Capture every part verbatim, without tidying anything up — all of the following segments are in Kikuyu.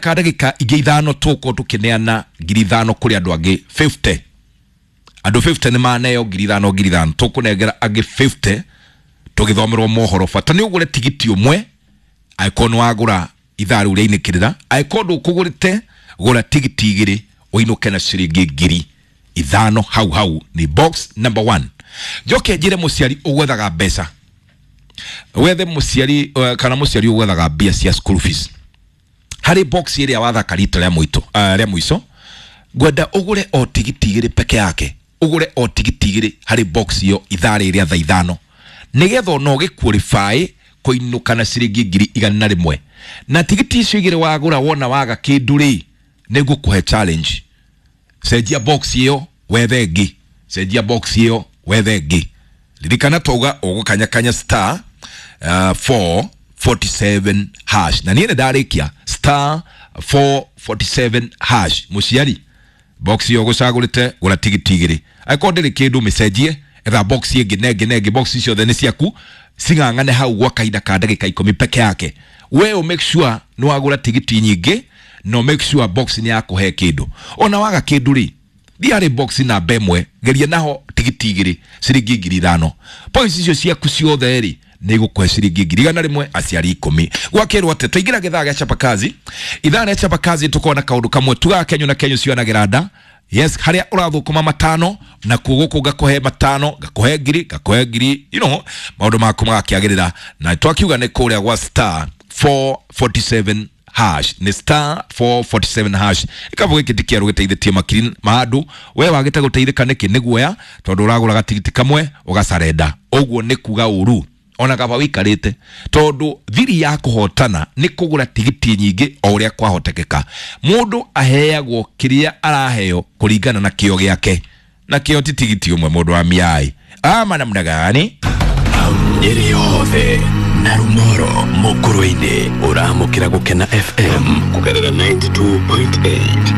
Ka ndagĩka ingĩ ithano tũgũkorwo tũkĩneana ngiri ithano kũrĩ andũ angĩ fifty. Andũ fifty nĩ maneo ngiri ithano ngiri ithano, tũkũnengera angĩ fifty tũgĩthomerwo mohoro. Bata nĩ ũgũre tigiti ũmwe, angĩkorwo nĩ wagũra ithaa rĩu rĩainĩkĩrĩra, angĩkorwo ndũkũgũrĩte gũra tigiti igĩrĩ ũinũke na ciringi ngiri ithano hau hau. Ni box number one. Njoke njĩre mũciari ũgwethaga mbeca, wethe mũciari uh, kana mũciari ũgwethaga mbia cia school fees harĩ box ĩrĩa wathaka rita rĩa mũito uh, rĩa mũico, ngwenda ũgũre o tigiti igĩrĩ peke yake, ũgũre o tigiti igĩrĩ harĩ box ĩyo ithaa rĩrĩ rĩa thaa ithano, nĩgetha ona ũgĩqualify kũinũka na ciringi ngiri igana rĩmwe. Na tigiti icio igĩrĩ wagũra, wona waga kĩndũ rĩ, nĩngũkũhe challenge, cenjia box ĩyo wethe ĩngĩ, cenjia box ĩyo wethe ĩngĩ. Ririkana twauga ũgũkanyakanya star uh, four forty-seven hash, na niĩ nĩ ndarĩkia star four forty-seven hash. Mũciari, box ĩyo ũgũcagũrĩte gũra tigiti igĩrĩ, angĩkorwo ndĩrĩ kĩndũ mĩcenjie, etha box ĩngĩ na ĩngĩ na ĩngĩ. Box ciothe nĩ ciaku, cing'ang'ane hau gwa kahinda ka ndagĩka ikũmi peke yake. We ũ make sure nĩ wagũra tigiti nyingĩ, no make sure box nĩ yakũhe kĩndũ. Ona waga kĩndũ rĩ, thiĩ harĩ box namba ĩmwe, geria naho tigiti igĩrĩ ciringi ngiri ithano. Points icio ciaku ciothe rĩ, nĩ igũkũhe ciringi ngiri igana rĩmwe aciari ikũmi. Gwakĩrwo atĩ twaingĩra gĩthaa gĩa chapakazi, ithaa rĩa chapakazi tũkorwo na kaũndũ kamwe tugaga kenyu na kenyu cionagĩra nda. Yes, harĩa ũrathũkũma matano na kuo gũkũ ngakũhe matano, ngakũhe ngiri, ngakũhe ngiri, you know, maũndũ maku magakĩagĩrĩra. Na twakiuga nĩ kũrĩa gwa star four forty-seven hash, nĩ star four forty-seven hash. Gĩkabũ gĩkĩ ti kĩerũ, gĩteithĩtie makiri ma andũ. We wagĩte gũteithĩka nĩkĩ? Nĩ guoya, tondũ ũragũra gatigiti kamwe ũgacarenda. Ũguo nĩ kuga ũru ona kaba wĩikarĩte, tondũ thiri ya kũhotana nĩ kũgũra tigiti nyingĩ o ũrĩa kwahotekeka. Mũndũ aheagwo kĩrĩa araheo kũringana na kĩo gĩake, na kĩo ti tigiti ũmwe. Mũndũ wa miai ama namna gani? Nyeri yothe na Rumoro Mukurwe-inĩ ũramũkĩra Gũkena F M kũgerera ninety-two point eight.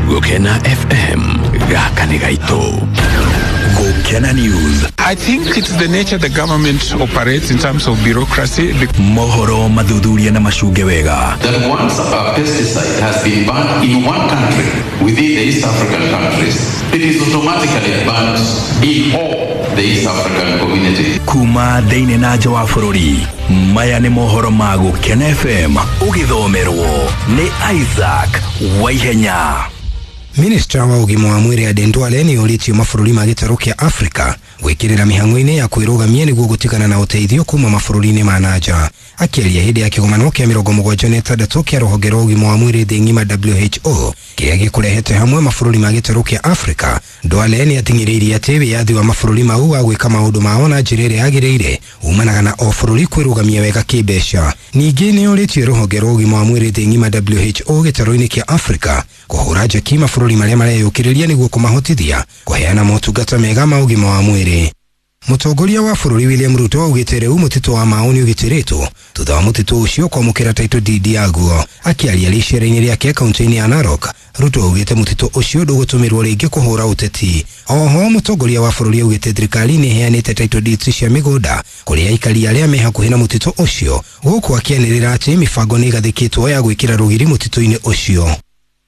Gũkena F M, gaka nĩ gaitũ. Gũkena News. I think it's the nature the government operates in terms of bureaucracy. Mohoro mathuthuria na macunge wega. That once a pesticide has been banned in one country within the East African countries, it is automatically banned in all the East African community. Kuma thĩinĩ na nja wa bũrũri, maya nĩ mohoro ma Gũkena F M, ũgĩthomerwo nĩ Isaac Waihenya. Minister wa ũgima wa mwĩrĩ Aden Duale nĩ orĩtio mabũrũri ma gĩtarũ kĩa Afrika gwĩkĩrĩra mĩhang'o-inĩ ya kwĩrũgamia nĩguo gũtigana na ũteithio kuma mabũrũri-inĩ ma nanja. Akĩaria hĩndĩ ya kĩgomano kĩa mĩrongo mũgwanja na ĩtandatũ kĩa rũhonge rwa ũgima wa mwĩrĩ thĩ ng'ima W H O kĩrĩa gĩkũrehete hamwe mabũrũri ma gĩtarũ kĩa Afrika, Duale nĩ ating'ĩrĩirie atĩ wĩyathi wa mabũrũri mau wa gwĩka maũndũ mao na njĩra ĩrĩa yagĩrĩire umanaga na o bũrũri kwĩrũgamia wega kĩmbeca. Ningĩ nĩ orĩtie rũhonge rwa ũgima wa mwĩrĩ thĩ ng'ima W H O gĩtarũ-inĩ kĩa Afrika kũhũra njeki mabũrũri marĩa mareyũkĩrĩria nĩguo kũmahotithia kũheana motungata mega ma ũgima wa mwĩrĩ. Mũtongoria wa bũrũri William Ruto augĩte rĩu mũtitũ wa Mau nĩ ũgitĩrĩtwo thutha wa mũtitũ ũcio kwamũkĩra title deed yaguo. Akĩaria rĩcera-inĩ rĩake kaunti-inĩ ya Narok, Ruto augĩte mũtitũ ũcio ndũgũtũmĩrwo rĩngĩ kũhũra ũteti. Oho mũtongoria wa bũrũri augĩte thirikari nĩ ĩheanĩte title deeds cia mĩgũnda kũrĩ aikari arĩa me hakuhĩ na mũtitũ ũcio, gũkũ akĩanĩrĩra atĩ mĩbango nĩ ĩgathĩkĩtwo ya gwĩkĩra rũgiri mũtitũ-inĩ ũcio.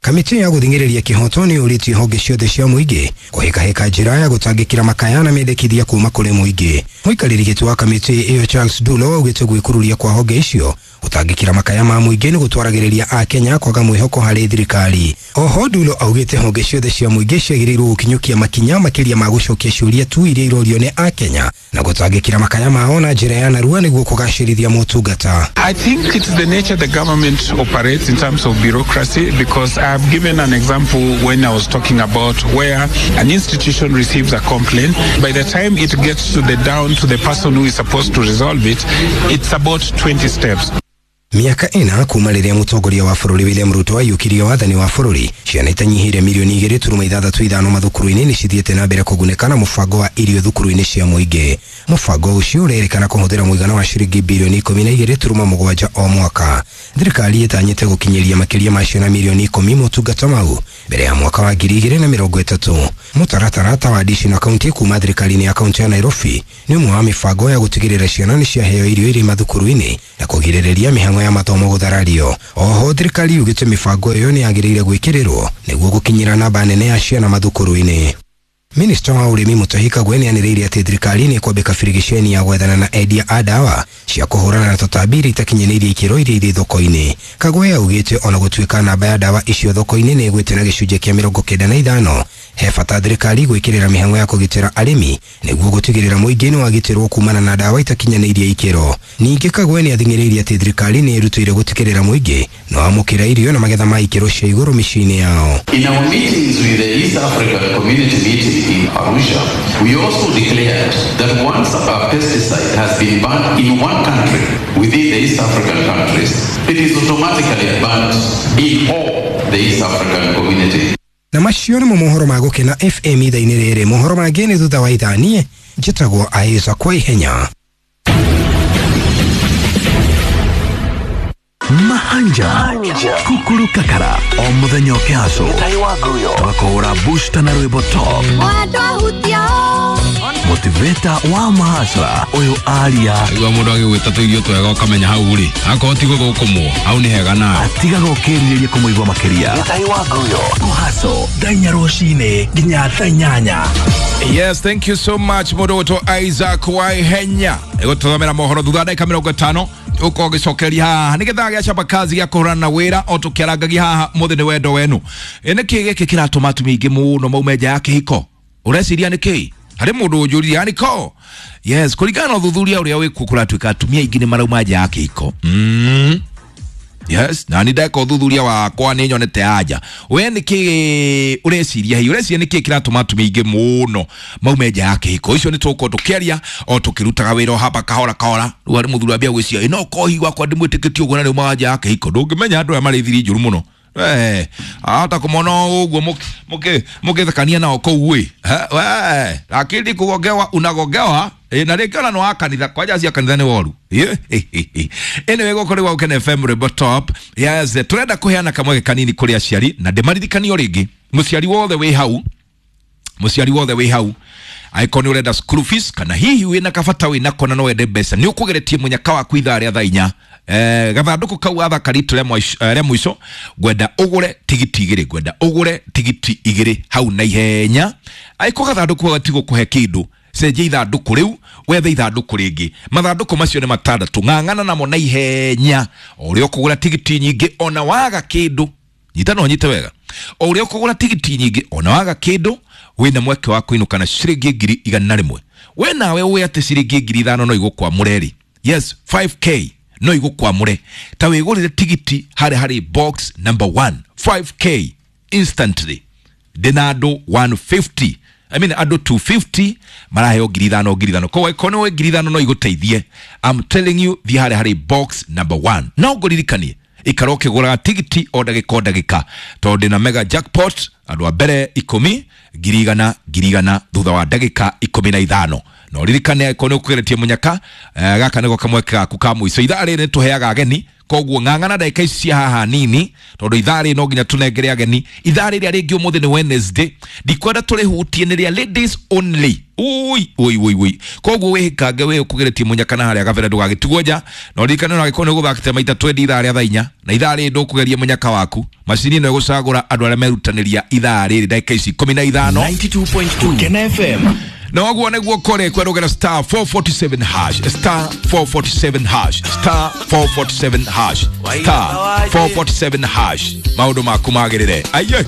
Kamĩtĩ ya gũthing'ĩrĩria kĩhoto nĩ yũrĩtie honge ciothe cia mũingĩ kũhĩkahĩka njĩra ya gũtangĩkĩra makaya na mendekithia kuma kũrĩ mũingĩ. Mũikarĩri gĩtĩ wa kamĩtĩ ĩyo Charles Dulo augĩte gwĩkururia kwa honge icio gũtangĩkĩra makaya ma mũingĩ nĩ gũtwaragĩrĩria Akenya kwaga mwĩhoko harĩ thirikari. Oho Dulo augĩte honge ciothe cia mũingĩ ciagĩrĩirwo gũkinyũkia makinya makĩria ma gũcokia ciũria tu iria irorio nĩ Akenya na gũtangĩkĩra makaya mao na njĩra ya narua nĩguo kũgacĩrithia motungata. I think it's the nature the government operates in terms of bureaucracy, because I've given an example when I was talking about where an institution receives a complaint. By the time it gets to the down to the person who is supposed to resolve it, it's about twenty steps. Miaka ĩna kuma rĩrĩa mũtongoria wa bũrũri William Ruto aiyũkirie wathani wa bũrũri, ciana itanyihĩire mirioni igĩrĩ turuma ithathatũ ithano mathukuru-inĩ nĩ cithiĩte na mbere kũgunĩka na mũbango wa irio thukuru-inĩ cia mũingĩ. Mũbango ũcio ũrerĩkana kũhũthĩra mũigana wa ciringi bilioni ikũmi na igĩrĩ turuma mũgwanja o mwaka. Thirikari ĩtanyĩte gũkinyĩria makĩria ma ciana mirioni ikũmi motungata mau mbere ya mwaka wa ngiri igĩrĩ na mĩrongo ĩtatũ. Mũtaratara ta wa dishi na kaunti kuma thirikari-inĩ ya kaunti ya Nairobi nĩ ũmwe wa mĩbango ya gũtigĩrĩra ciana nĩ ciaheo irio irĩ mathukuru-inĩ na kũgirĩrĩria mĩhang'o ya mathomo gũtharario. Oho thirikari yugĩte mĩbango ĩyo nĩ yagĩrĩire gwĩkĩrĩrwo nĩguo gũkinyĩra namba nene ya ciana mathukuru-inĩ. Minista wa ũrĩmi Mutahi Kagwe nĩanĩrĩire atĩ thirikari nĩ ĩkwambĩka birigiceni ya gwethana na endia a ndawa cia kũhũrana na tũtambi iria itakinyanĩirie ikĩro iria irĩ thoko-inĩ. Kagwe augĩte ona gũtuĩka namba ya ndawa icio thoko-inĩ nĩ ĩgwĩte na gĩcunjĩ kĩa mĩrongo kenda na ithano, he bata thirikari gwĩkĩrĩra mĩhang'o ya kũgitĩra arĩmi nĩguo gũtigĩrĩra mũingĩ nĩ wagitĩrwo kumana na ndawa itakinyanĩirie ikĩro. Ningĩ Kagwe nĩathing'ĩrĩirie atĩ thirikari nĩ ĩrutĩire gũtigĩrĩra mũingĩ no amũkĩra irio na magetha ma ikĩro cia igũrũ mĩciĩ-inĩ yao. In our meetings with the East African Community meeting in Arusha, we also declared that once a pesticide has been banned in one country within the East African countries, it is automatically banned in all the East African community. Na macio nĩmo mohoro ma Gũkena F M ithaa-inĩ rĩrĩ. Mohoro mangĩ nĩ thutha wa ithaa. Niĩ njĩtagwo Aisa kwa ihenya. Mahanja Kukuru Kakara o muthenya ũkĩhacwo twakũhũra booster na rwĩmbo top motivator wa mahasra ũyũ aria igua mũndũ agĩgwĩta tũirio twega ũkamenya hau rĩ akorwo ti gũthũkũmwo hau nĩ hega nawe atigaga ũkĩrirĩria kũmũigua makĩria kũhaco thaa inya rũcinĩ nginya thaa inyanya. Yes, thank you so much mũndũ ũgwĩtwo Isaac Waihenya ĩgũtũthomera mohoro thutha wa ndagĩka mĩrongo ĩtano uko gicokeria haha nĩ gĩthaa gĩa chapa kazi gĩa kũhũrana na wĩra o tũkĩarangagia haha mũthĩ nĩ wendo wenu. Ĩ nĩkĩ gĩkĩ kĩratũma atumia aingĩ mũno maume nja ya kĩhiko? Ũreciria nĩkĩ? Harĩ mũndũ ũnjũririe yani ko yes, kũringana na ũthuthuria ũrĩa wĩkuo kũratuĩka atumia aingĩ nĩ marauma nja ya kĩhiko. Mm. Yes, na nĩ ndeka ũthuthuria wakwa nĩ nyonete anja. We nĩkĩ ũreciria hihi? Ũreciria nĩkĩ kĩratũma atumia aingĩ mũno maume nja ya kĩhiko? Icio nĩ tũgũkorwo tũkĩaria o tũkĩrutaga wĩra o hapa kahora kahora. Rĩu harĩ mũthuri ambia gwĩciria ĩ no kohi gwakwa ndimwĩtĩkĩtie ũguo na rĩu maga nja ya kĩhiko. Ndũngĩmenya andũ aya marĩ thiri njũru mũno. Eh, hata kũmona ũguo mũkĩ mũkĩthekania nao kũu ĩ. We, lakini kugongewa unagongewa. E, na rĩngĩ ona nĩ wa kanitha kwanja cia kanitha nĩ woru. Anyway, gũkũ nĩ gwa Gũkena F M Rwĩmbo Top. Yes, tũrenda kũheana kamweke kanini kũrĩ aciari na ndĩmaririkanio rĩngĩ. Mũciari wothe wĩ hau, mũciari wothe wĩ hau angĩkorwo nĩ ũrenda school fees kana hihi wĩna kabata wĩnako na no wende mbeca nĩ ũkũgeretie mũnyaka waku ithaa rĩa thaa inya. Eh, gathandũkũ kau gathaka ritu rĩa mũico ngwenda ũgũre tigiti igĩrĩ, ngwenda ũgũre tigiti igĩrĩ hau na ihenya. Angĩkorwo gathandũkũ gatigũkũhe kĩndũ cenjia ithandũkũ rĩu wethe ithandũkũ rĩngĩ. Mathandũkũ macio nĩ matandatũ, ng'ang'ana namo na ihenya. O ũrĩa ũkũgũra tigiti nyingĩ ona waga kĩndũ, nyita no nyite wega, o ũrĩa ũkũgũra tigiti nyingĩ ona waga kĩndũ wĩna mweke wa kũinũka na ciringi ngiri igana rĩmwe. We nawe ũĩ atĩ ciringi ngiri ithano no igũkwamũre rĩ. Yes, five K no igũkwamũre. Ta wĩgũrĩre tigiti harĩ harĩ box number one, five K instantly. Ndĩna andũ one fifty, I mean andũ two fifty maraheo ngiri ithano ngiri ithano. Koguo angĩkorwo nĩ ngiri ithano no igũteithie. I'm telling you, thiĩ harĩ harĩ box number one. No ngũririkanie ikara ũkĩgũraga tigiti o ndagĩka o ndagĩka tondũ ndĩna mega jackpot andũ a mbere ikũmi ngiri igana ngiri igana thutha wa ndagĩka ikũmi na ithano. Na ũririkane angĩkorwo nĩ ũkũgeretie mũnyaka, eh, gaka nĩko kamweke gaku ka mũico. Ithaa rĩrĩ nĩtũheaga ageni, koguo ng'ang'ana ndagĩka ici cia haha nini tondũ ithaa rĩrĩ no nginya tũnengere ageni. Ithaa rĩrĩa rĩngĩ ũmũthĩ nĩ Wednesday, ndikwenda tũrĩhutie nĩ rĩa ladies only. Ui ui ui ui. Koguo wĩhĩkange wĩ ũkũgeretie mũnyaka na harĩa gabere ndũgagĩtigwo nja. Na ũririkane ona angĩkorwo nĩ ũgũthakĩte maita twendi ithaa rĩa thaa inya na ithaa rĩrĩ ndũkũgeria mũnyaka waku, macini ĩno ĩgũcagũra andũ arĩa merutanĩria ithaa rĩrĩ ndagĩka ici ikũmi na ithano. ninety two point two Gũkena F M. Na ũguo nĩguo kũrĩ kwerũgera star four forty-seven hash, star four forty-seven hash, star four forty-seven hash, star four forty-seven hash. Maũndũ maku magĩrĩre. Aiye.